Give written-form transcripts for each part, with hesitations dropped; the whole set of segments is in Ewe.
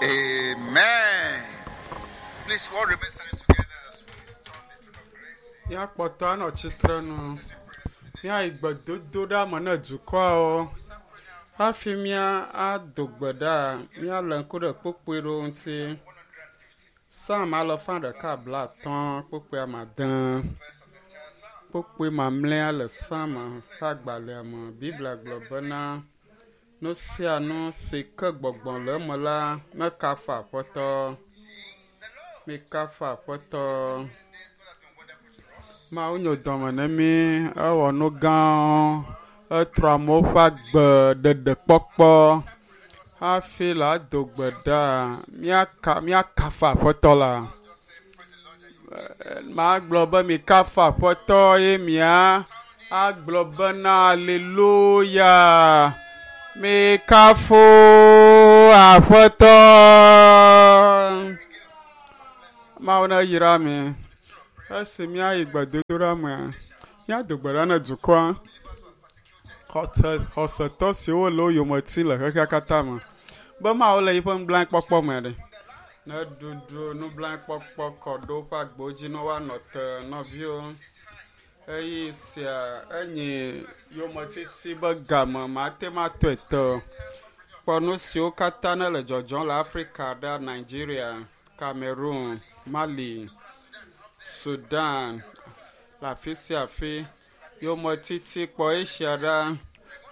Amen. Please, all remain standing together as we turn the throne of grace. Míakpɔtɔ anɔ tsitre nu. Míayi gbedodoɖa me ne dukɔawo. Hafi mía ado gbe ɖa, míalé ŋku ɖe kpukpui ɖewo ŋuti. Psalm alafa ɖeka blaatɔ̃ kpukpui ame ade. Kpukpui mamlɛa le Psalm ƒe agbalẽa me. Biblia gblɔ bena nu sia nu si ke gbɔgbɔ le eme la nekafu Aƒetɔ. Mikafu Aƒetɔ. Mawu nyo dɔme ne mí, ewɔ nu gãwo, etrɔ amewo ƒe agbe ɖeɖekpɔkpɔ. Hafi la do gbe ɖa, míaka míakafu Aƒetɔ la. Magblɔ be mikafu Aƒetɔ ye mia agblɔ bena aleluya. Mikafu Aƒetɔ. Mawu ne yra mi. Esi míayi gbedodoɖa mea, míado gbe ɖa ne dukɔa. Xɔse xɔsetɔ siwo le wo yome tim le xexea katã me be Mawu le yiƒe nublanuikpɔkpɔ me ɖe. Ne ɖuɖu nublanuikpɔkpɔ kɔ ɖo woƒe agbewo dzi ne woanɔ te nɔviwo. Eye sia enye yometiti be game mate ŋu atɔe te o. Kpɔ nu siwo katã ne le dzɔdzɔm le Afrika ɖa, Nigeria, Cameroon, Mali, Sudan, le afi sia afi. Yometiti kpɔ Asia ɖa,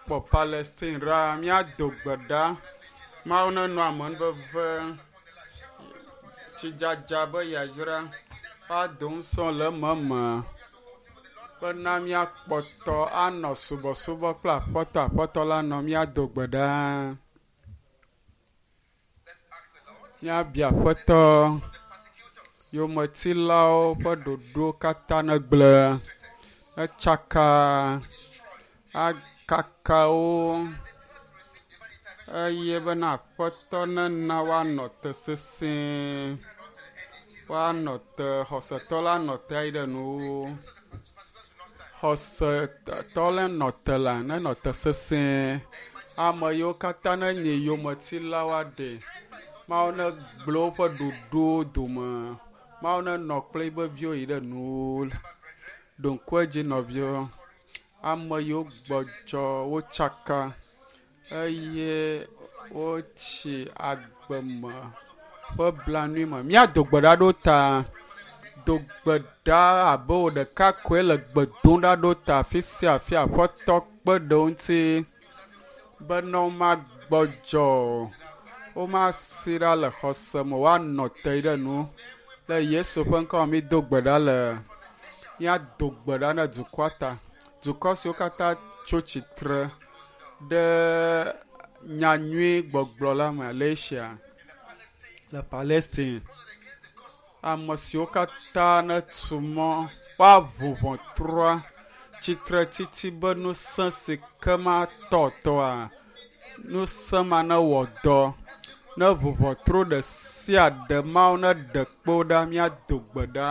kpɔ Palestine ɖa. Míado gbe ɖa. Mawu nenɔ amenuveve, tsidzadza be yayra woado ŋusẽ le ememe bena míakpɔtɔ anɔ subɔsubɔ kple Aƒetɔ. Aƒetɔ la nɔ míado gbe ɖa. Let's ask the Lord Míabia Aƒetɔ for the persecutors. yometilawo ƒe ɖoɖo katã negblẽ, netsaka, akaka wo eye bena Aƒetɔ nena woanɔ te sesĩe, woanɔ te, xɔsetɔ la nɔ te ayi ɖe nuwuwu. Xɔsetɔ la nɔ te la, nenɔ te sesĩe. Ame yiwo katã nenye yometilawo aɖe, Mawu negblẽ woƒe ɖoɖowo dome. Mawu nenɔ kple yiƒe viwo yi ɖe nuwuwu. Ɖo ŋku edzi nɔviwo, ame yiwo gbɔdzɔ wotsaka eye wotsi agbe me ƒe blanui me. Míado gbe ɖa ɖo ta. Do gbe ɖa abe wò ɖeka koe le gbe dom ɖa ɖo ta afi sia afi Aƒetɔ kpe ɖe wo ŋuti bena womagbɔdzɔ o, womasi ɖa le xɔse me, woanɔ te ɖe nu. Le Yesu ƒe ŋkɔ me mído gbe ɖa le míado gbe ɖa ne dukɔa ta. Dukɔ siwo katã tso tsitre ɖe nyanyui gbɔgblɔ la me le Asia, le Palestine. Ame siwo katã netu mɔ woaʋu ʋɔtrua tsitretsitsi be ŋusẽ si ke matɔ tɔa, ŋusẽ ma newɔ dɔ. Ne ʋu ʋɔtru ɖe sia ɖe Mawu neɖe kpo ɖa míado gbe ɖa.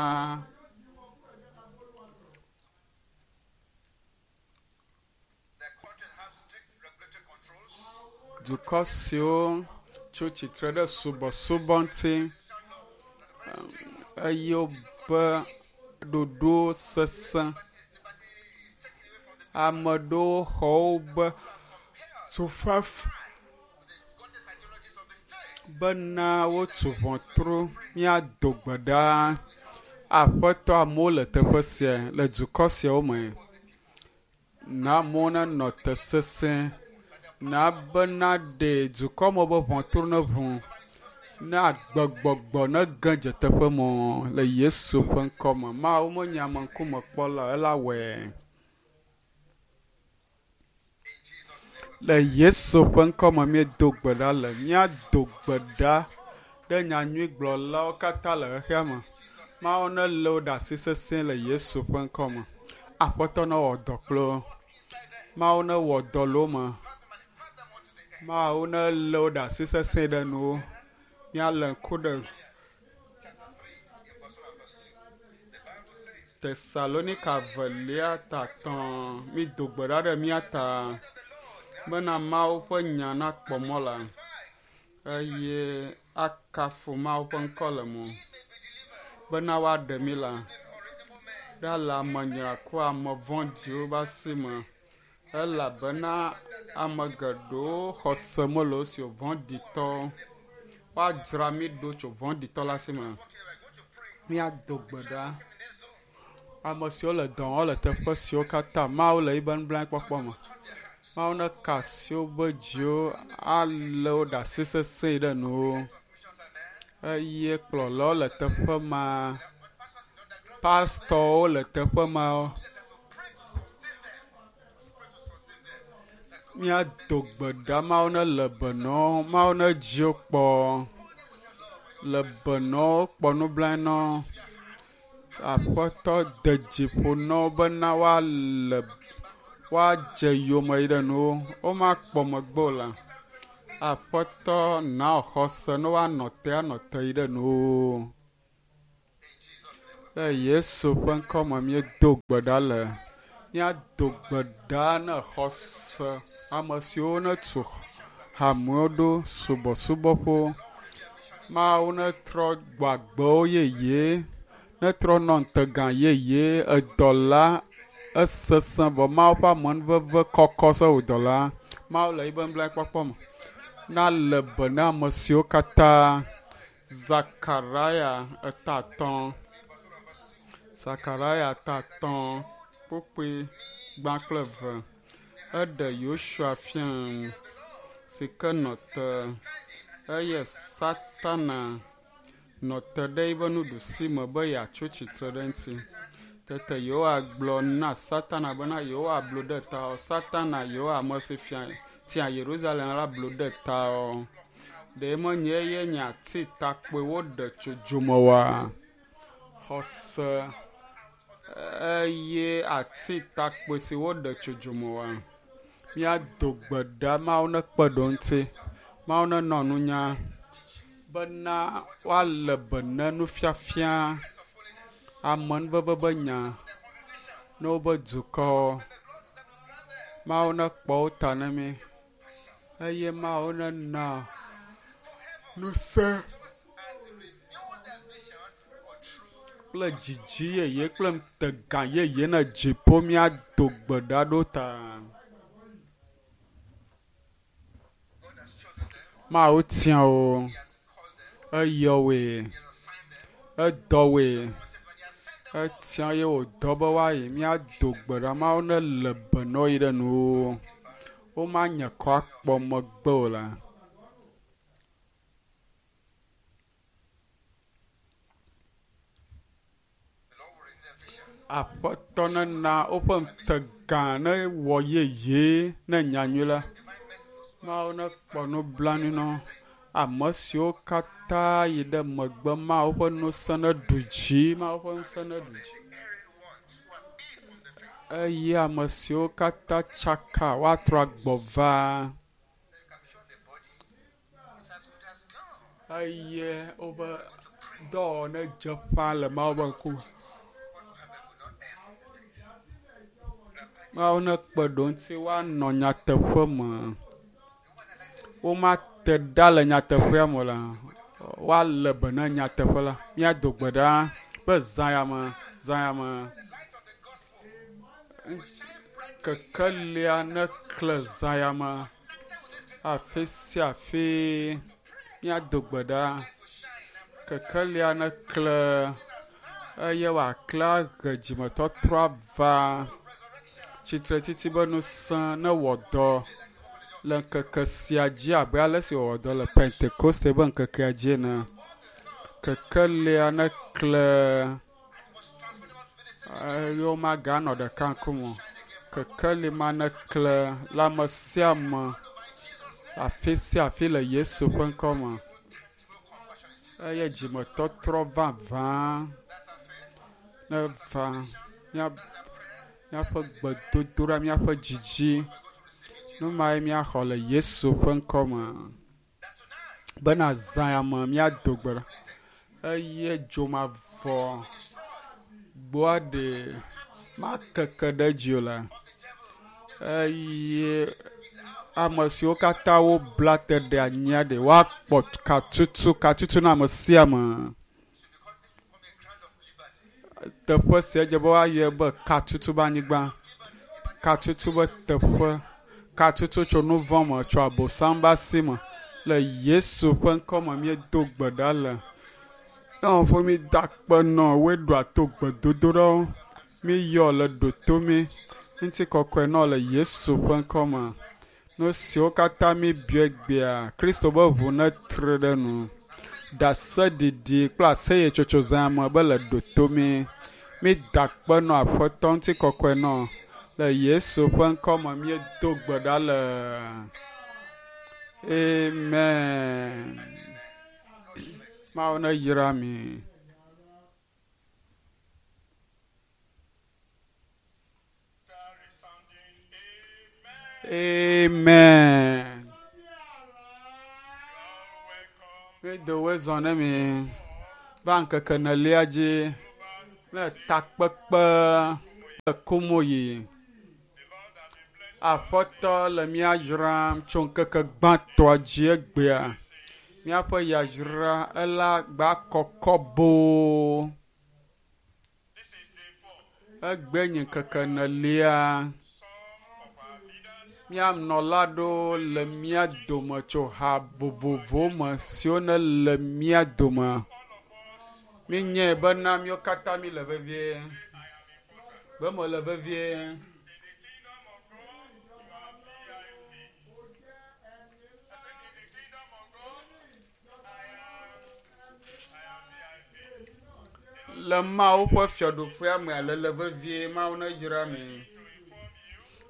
The country have strict regulatory controls. Dukɔ siwo tso tsitre ɖe subɔsubɔ ŋuti eye wobe ɖoɖo sesẽ. Ame ɖewo xɔ wobe tufafa Godless ideologies of the state. bena wotu ʋɔtru míado gbe ɖa. Aƒetɔ amewo le teƒe sia le dukɔ siawo me. Na amewo nenɔ te sesẽ. Na bena ɖe dukɔ me be ʋɔtru neʋu. Ne agbegbɔgbɔ nege dze teƒe mɔ le Yesu ƒe ŋkɔ me. Mawu menye ameŋkumekpɔla o, ela wɔe. In Jesus' name. Le Yesu ƒe ŋkɔ me míedo gbe ɖa le. Míado gbe ɖa ɖe nyanyuigblɔlawo katã le xexea me. Mawu nelé wo ɖe asi sesĩe le Yesu ƒe ŋkɔ me. Aƒetɔ newɔ dɔ kple wo. Mawu newɔ dɔ le wo me. Mawu nelé wo ɖe asi sesĩe ɖe nuwo. Míalé ŋku ɖe Chapter 3, in verse 1 and verse 2. The Bible says, Tesalonika velia ta tɔ̃. Mído gbe ɖa ɖe mía ta bena Mawu ƒe nya nakpɔ mɔ la. eye akafu Mawu ƒe ŋkɔ le mo bena woaɖe mí la ɖa le ame nyraku ame vɔ̃ɖiwo ƒe asi me elabena ame geɖewo xɔse mele wo si o vɔ̃ɖitɔwo woadzra mí ɖo tso vɔ̃ɖitɔ la si me. Míado gbe ɖa. Ame siwo le dɔ wɔm le teƒe siwo katã Mawu le yiƒe nublanuikpɔkpɔ me. Mawu neka asi woƒe dziwo alé wo ɖe asi sesẽ ɖe nuwo eye kplɔlawo le teƒe ma. Pastɔwo le teƒe ma. Míado gbe ɖa Mawu nele be na wo, Mawu nedzi wo kpɔ le be na wo kpɔ nublanui na wo. Aƒetɔ de dzi ƒo na wo bena woale woadze yome yi ɖe nuwo womakpɔ megbe o la. Aƒetɔ na wò xɔse ne woanɔ te anɔ te yi ɖe nuwo. Le Yesu ƒe ŋkɔ me míedo gbe ɖa le. Míado gbe ɖa ne xɔse ame siwo netu hamewo ɖo subɔsubɔƒewo. Mawu netrɔ gbɔ agbewo yeye, netrɔ nɔ ŋutegã yeye edɔla esesẽ vɔ Mawu ƒe amenuveve kɔkɔ se wò dɔla. Mawu le yiƒe nublanuikpɔkpɔ me. Na le be na ame siwo katã Zakaria eta atɔ̃. Zakaria eta atɔ̃ kpukpui gbã kple eve. Eɖe Yosua fia si ke nɔ te eye Satana nɔ te ɖe eƒe nuɖusi me be yeatso tsitre ɖe eŋuti. Tete Yehowa gblɔ na Satana bena Yehowa blu ɖe ta o. Satana Yehowa ame si fia tia Yerusalem la blu ɖe ta o. Ɖe menye eye nye ati takpoe woɖe tso dzome oa? Xɔse eye ati takpoe si woɖe tso dzome oa? Míado gbe ɖa Mawu nekpe ɖe wo ŋuti. Mawu nenɔ nunya bena woalé be na nufiafia amenuveve be nya ne wobe dukɔ. Mawu nekpɔ wo ta na mí eye Mawu nena ŋusẽ kple dzidzi yeye kple ŋutega yeye ne dziƒo míado gbe ɖa ɖo ta. Mawu tia wo, eyɔ woe, edɔ woe, etia ye wòdɔ be woayi. Míado gbe ɖa Mawu nele be na wo yi ɖe nuwo. Womanye kɔ akpɔ megbe o la. Aƒetɔ nena woƒe ŋutegã newɔ yeye ne nyanyui la. Mawu nekpɔ nublanui na wo. Ame siwo katã yi ɖe megbe Mawu ƒe ŋusẽ neɖu dzi. Mawu ƒe ŋusẽ neɖu dzi. Eye ame siwo katã tsaka woatrɔ agbɔ va. Eye woƒe dɔwɔwɔ nedze ƒã le Mawu ƒe ŋkume. Mawu nekpe ɖe wo ŋuti woanɔ nyateƒe me. Womate ɖa le nyateƒea me o la. Woalé be na nyateƒe la. Míado gbe ɖa be zã ya me, zã ya me. Kekelia nekle zã ya me. Afi sia afi míado gbe ɖa. Kekelia nekle eye wòakle ahe dzimetɔtrɔ ava. Tsitretsitsi be ŋusẽ newɔ dɔ le ŋkeke sia dzi abe ale si wòwɔ dɔ le Pentekoste ƒe ŋkekea dzi ene. Kekelia nekle eye womaganɔ ɖeka ŋkume o. Kekeli ma nekle le ame sia ame afi sia afi le Yesu ƒe ŋkɔ me. Eye dzimetɔtrɔ vavã neva míaƒe gbedodoɖa, míaƒe dzidzi. Nu mae míaxɔ le Yesu ƒe ŋkɔ me. Bena zã ya me míado gbe ɖa eye dzomavɔ gbɔa ɖe makeke ɖe edzi o la eye Ame siwo katã wobla te ɖe anyia ɖe woakpɔ katutu katutu na ame sia ame. Teƒe sia dze be woayɔe be katutu be anyigba, katutu be teƒe, katutu tso nu vɔ̃ me, tso abosam be asi me. Le Yesu ƒe ŋkɔme míedo gbe ɖa le. Ƒe mi da akpe nɔ woe ɖoa to gbedodoɖawo. Míyɔ le ɖoto mi. Ŋutikɔkɔe nɔ le Yesu ƒe ŋkɔme. Nu siwo katã míbiɔ egbea, Kristo be ʋu netre ɖe nu. Ɖaseɖiɖi kple aseyetsotso zã me be le ɖoto mi. Mída akpe nɔ Aƒetɔ ŋutikɔkɔe nɔ. Le Yesu ƒe ŋkɔme míedo gbe ɖa le. Amen. Mawu neyra mi. Amen. Míedo woe zɔ ne mi va ŋkeke enelia dzi ne takpekpe le Komoyi. Aƒetɔ le mía dzram tso ŋkeke gbãtɔa dzi egbea. Míaƒe yayra ela gba kɔkɔ boo. Egbe nye ŋkeke enelia. Mía nɔla ɖewo le mía dome tso ha vovovowo me siwo ne le mía dome. Míenyae bena míawo katã míle vevie. Be mele vevie. Le Mawu ƒe fiaɖuƒea mea lele vevie Mawu neyra mi.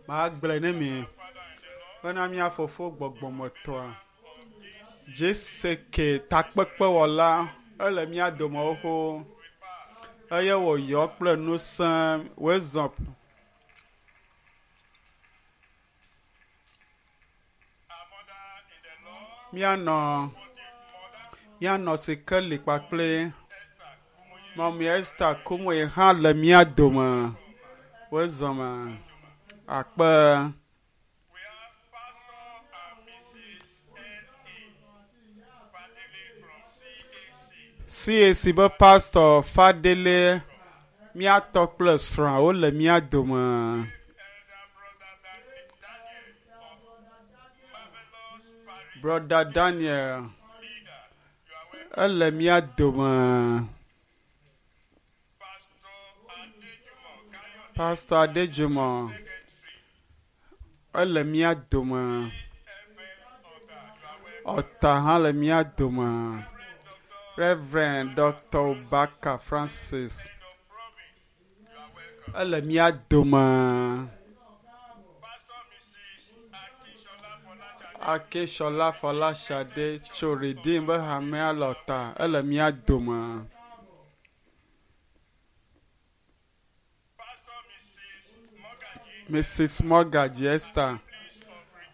Magblɔe ne mi bena mía fofo gbɔgbɔmetɔa JCK takpekpewɔla ele mía dome xoxo eye wòyɔ kple ŋusẽ wòezɔ míanɔ Sikeli kpakple Mɔmi Esther Kumoe hã le mía dome. Wòezɔ me akpe. CAC be pastor Fadele míatɔ kple srɔ̃a wole mía dome. Brother Daniel ele mía dome. Pastor Adejumo ele mía dome. Ɔta hã le mía dome. Reverend Dr. Obaka Francis ele mía dome. Akesola Fọláṣadé tso Redeem be hamea le Ɔta ele mía dome. Mrs. Mogaji Esther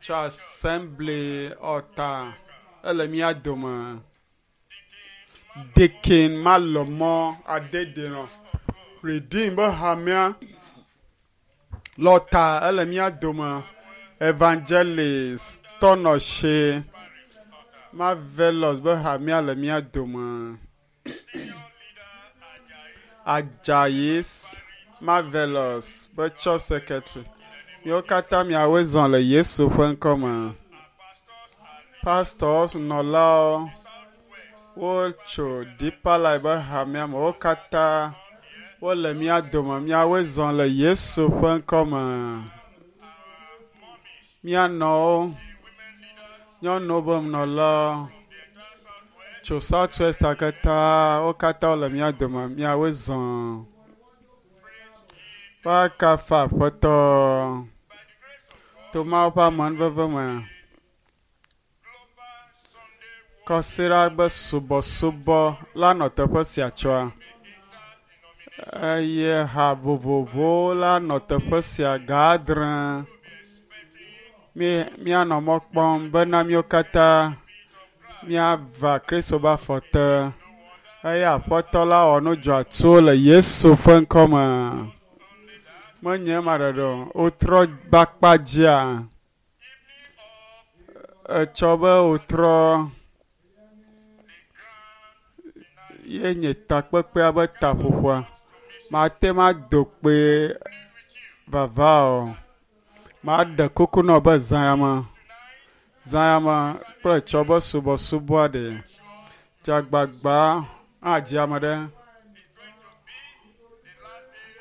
tso Assembly Ɔta ele mía dome. Deacon Malɔmɔ Adedenɔ Redeem be hamea le Ɔta ele mía dome. Evangelist Tɔnɔse Marvelous be hamea le mía dome. Ajayi Marvelous be church secretary. Míawo katã miawoe zɔ le Yesu ƒe ŋkɔme. Pastors nɔlawo wotso Deeper Life be hamea me. Wo katã wole mía dome. Miawoe zɔ le Yesu ƒe ŋkɔme. Mía nɔwo, nyɔnuwo be nɔlawo tso South West katã wo katã wole mía dome. Miawoe zɔ. Woakafu Aƒetɔ to Mawu ƒe amenuveve me. Kɔsiɖa be subɔsubɔ la nɔ teƒe sia tsɔa eye ha vovovowo la nɔ teƒe sia ga adre. Míanɔ mɔ kpɔm bena míawo katã míava Kristo be afɔ te eye Aƒetɔ la wɔ nu dzɔatsuwo le Yesu ƒe ŋkɔme. Menye ema ɖeɖe o, wotrɔ be akpa dzia. Etsɔ be wòtrɔ ye nye takpekpea be taƒoƒoa. Mate ŋu ado kpe vava o. Maɖe kuku nɔ be zã ya me, zã ya me kple etsɔ be subɔsubɔa ɖe. Dzagbagba adzi ame ɖe.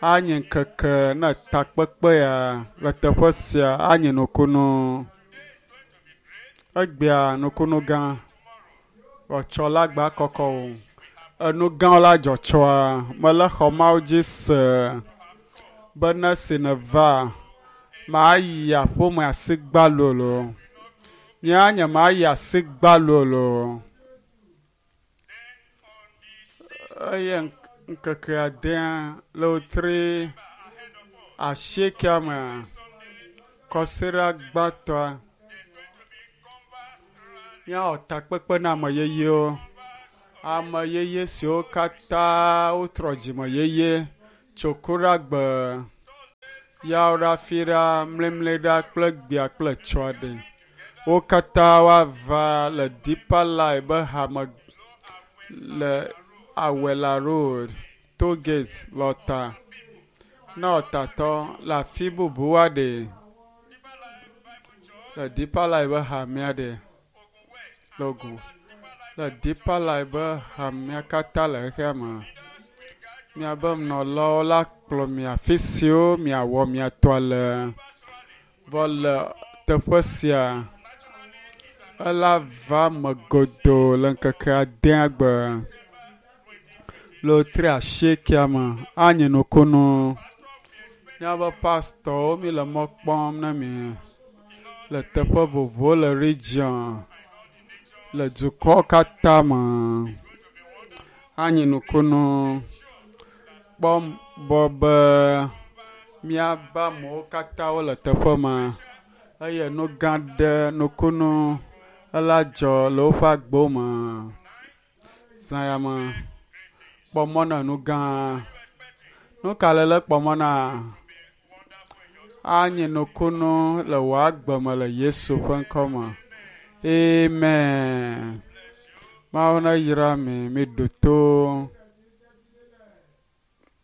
Anye ŋkeke ne takpekpe ya le teƒe sia anye nukunu. Egbea nukunu gã. Etsɔ la gba kɔkɔ o. Enu gãwo la dzɔ tsɔa. Mele xɔ Mawu dzi se be ne si neva mayi aƒeme asi gbalo loo. Nye nye mayi asi gbalo loo. Eye ŋkeke adea le wotri asiekea me kɔsiɖa gbãtɔa míawɔ takpekpe na ame yeyewo. Ame yeye siwo katã wotrɔ dzime yeye tso kuɖagbe, yawoɖa, fiɖa, mlimliɖa kple gbea kple tsɔa ɖe. Wo katã woava le Deeper Life be hame le Awela Road, Toll Gate, Lɔta. Ne ɔtatɔ le afi bubu aɖe le Deeper Life be hamea ɖe le Ogun. Le Deeper Life be hamea katã le xexea me. Miabe nɔlawo la kplɔ mi afi siwo miawɔ mia tɔa le. Vɔ le teƒe sia, ela va me godoo le ŋkeke adea gbe. Le wotri asiekea me anye nukunu. Míabe pastɔwo mi le mɔ kpɔm na mi le teƒe vovovowo le region le dukɔ katã me. Anye nukunu. Kpɔ bɔ be míabe amewo katã wole teƒe ma eye nu gã ɖe nukunu ela dzɔ le woƒe agbewo me. Zã ya me kpɔ mɔ na nu gã. Nu ka le le kpɔ mɔ na? Anye nukunu le wò agbe me le Yesu ƒe ŋkɔ me. Amen. Mawu neyra mi, miɖo to.